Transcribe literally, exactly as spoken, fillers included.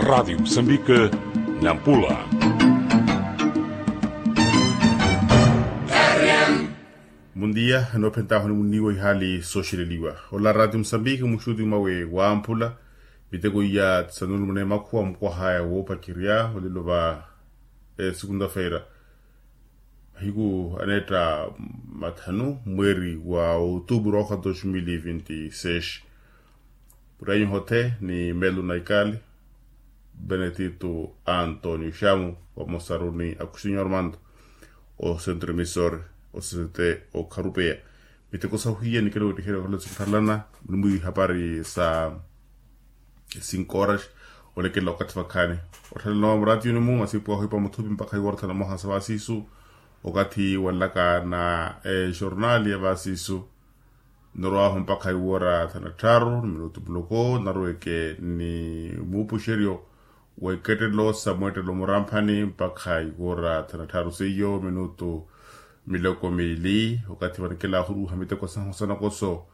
Radiyo musambike, nampula. Mundiya enoophentahu ni munniiwa ihaali sooxeleliwa. Ola radiyo musambike muxuti mwawe wamphula. Miteko iya tisanulumuna emakhuwa mukwaha ya woopakirya olelo va esukunta-feira, mahiku aneetta mathanu mweeri wa otuupuru ookha dos mil e vinti seis. Purainyu hothe ni melu na ikali, benetito antonio xamu vamosaru ni akusinyo armando, osentro emisor, osesete okharupeya. Miteko sahuhiya nikela wettiherya okhula sikuthalana, nimwi hapari sa cinco horas, olekela okathi vakhaani. Otthalana wa muratiyuni-mu masipu ahu ipa muthupi mpakha iworothana moha sa vasisu. Okathi wanlaka na ejornali ya vasisu, nnarowahu mpakha iwora thana tthaaru ni minutu muloko nnaruweke ni muupuxeryo wa ikettelo sa mweettelo muramphani mpakha iwora thana tthaaru seiyo minutu miloko miili. Okathi vanekela ahuruha miteko sahu sa nakoso,